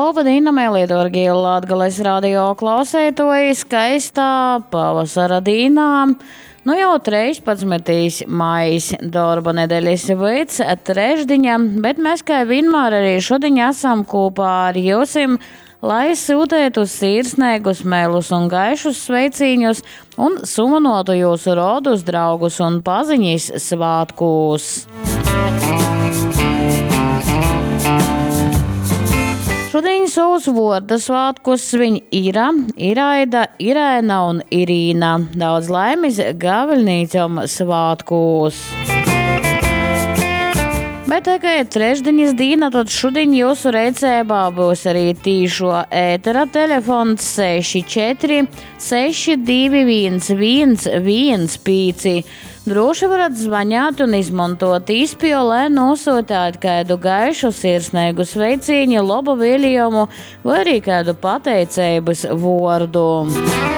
Loba dīna, meilī dōrgī Latgales radio klauseitoji, skaistā pavasara dīnā. Nu jau 13. maijs, dorba nedeļas vyds, trešdiņa, bet mēs kai vienmēr arī šodiņ esam kopā ar jyusim, lai syutētu sirsneigus, meilus un gaišus sveicīņus un sumanotu jūsu rodus, draugus un paziņas svātkūs. Šodien savus vorda svātkus sviņ Ira, Iraida, Irēna un Irīna. Daudz laimes gaviļnīcom svātkūs! Bet tā kā ir trešdiņas dīna, tad šodien jūsu rīcībā būs arī tīšo ētera telefons 64 621 115. Droši varat zvanīt un izmantot īspēju, lai nosūtītu kādu gaišu, sirsnīgu sveicienu, labu vēlējumu vai arī kādu pateicības vārdu.